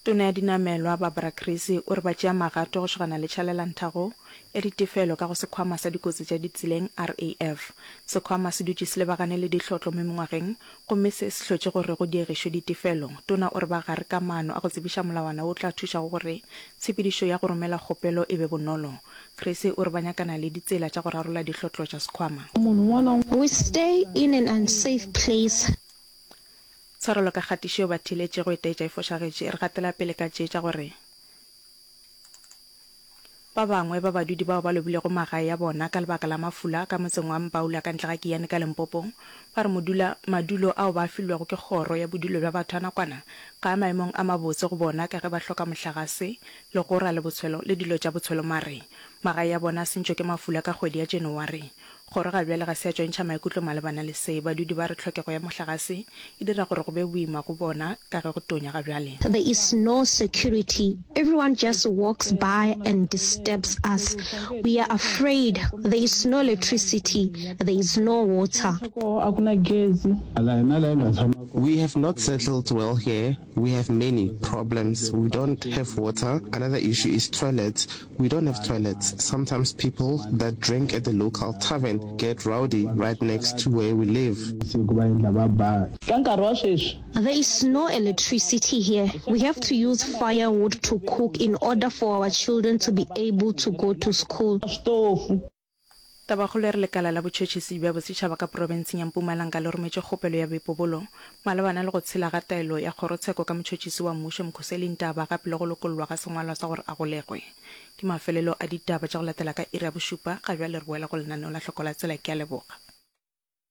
Tona ya Dinamelwa, Barbara Creecy, o re ba tšea magato go šogana le tšhalelanthago ya ditefelo ka go Sekhwama sa Dikotsi tša Ditseleng, RAF. Sekhwama se dutše se lebagane le dihlotlo mo mengwageng gomme se se hlotše gore go diegišwe ditefelo. Tona o re ba gare ka maano a go tsebiša molawana wo o tla thušago gore tshepedišo ya go romela kgopelo e be bonolo. Creecy o re ba nyakana le ditsela tša go rarolla dihlotlo tša sekhwama. We stay in an unsafe place. Tshwarelo ka kgatišo yeo ba theeletšego e taetša e fošagetše. Re gatela pele ka tše tša gore ba bangwe ba badudi bao ba lobilego magae a bona ka lebaka la mafula ka motseng wa Mbaula ka ntle ga Giyani ka Limpopo ba re modula madulo ao ba a filwego ke kgoro ya bodulo bja batho a nakwana ga a maemong a mabotse go bona ka ge ba hloka mohlagase, legora le botshwelo le dilo tša botshwelo mare. Magae a bona a sentšwe ke mafula ka kgwedi ya January. Kgoro ga bjale ga se ya tšwantšha maikutlo malebana le se. Badudi ba re tlhokego ya mohlagase e dira gore go be boima go bona ka ge go tonya ga bjale. There is no security, everyone just walks by and disturbs us, we are afraid, there is no electricity, there is no water. We have not settled well here, we have many problems, we don't have water, another issue is toilets, We don't have toilets. Sometimes people that drink at the local tavern get rowdy right next to where we live. There is no electricity here. We have to use firewood to cook in order for our children to be able to go to school. Tabakgolo e re Lekala la Botšhotšhisi bja Bosetšhaba ka profenseng ya Mpumalanga le rometše kgopelo ya boipobolo malebana le go tshela ga taelo ya kgorotsheko ka motšhotšhisi wa mmušo Mkhoseli Ntaba gape le go lokollwa ga sengwalwa sa gore a golegwe. Ke mafelelo a ditaba tša go latela ka iri ya bošupa. Ga bjale re boela go lenaneo la Hloko la Tsela. Ke a leboga.